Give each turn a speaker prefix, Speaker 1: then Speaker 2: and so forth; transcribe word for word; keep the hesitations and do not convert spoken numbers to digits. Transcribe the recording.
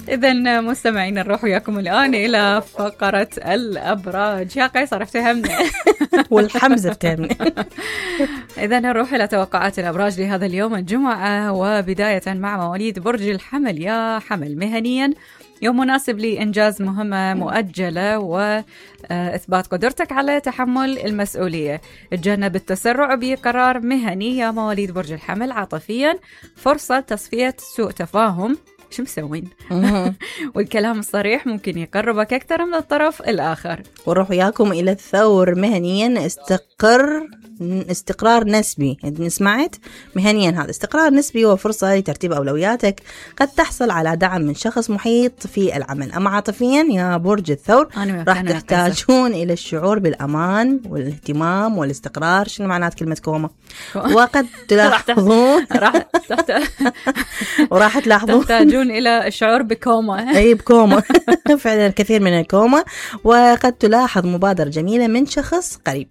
Speaker 1: إذن مستمعين نروح وياكم الآن إلى فقرة الأبراج. يا قيصر افتهمنا
Speaker 2: والحمزة افتهمنا.
Speaker 1: إذن نروح إلى توقعات الأبراج لهذا اليوم الجمعة، وبداية مع مواليد برج الحمل. يا حمل، مهنيا يوم مناسب لإنجاز مهمة مؤجلة وإثبات قدرتك على تحمل المسؤولية. تجنب التسرع بقرار مهني يا مواليد برج الحمل. عاطفيا فرصة تصفية سوء تفاهم، شو مسوين؟ والكلام الصريح ممكن يقربك أكثر من الطرف الآخر.
Speaker 2: ونروح وياكم إلى الثور. مهنيا استقر استقرار نسبي. سمعت؟ مهنيا هذا استقرار نسبي وفرصة لترتيب أولوياتك. قد تحصل على دعم من شخص محيط في العمل. أما عاطفيا يا برج الثور راح تحتاجون إلى الشعور بالأمان والاهتمام والاستقرار. شنو معنات كلمة كوما؟ وقد تلاحظون راح وراح تلاحظون
Speaker 1: تحتاجون إلى الشعور بكوما.
Speaker 2: أي بكوما فعلا الكثير من الكوما. وقد تلاحظ مبادرة جميلة من شخص قريب.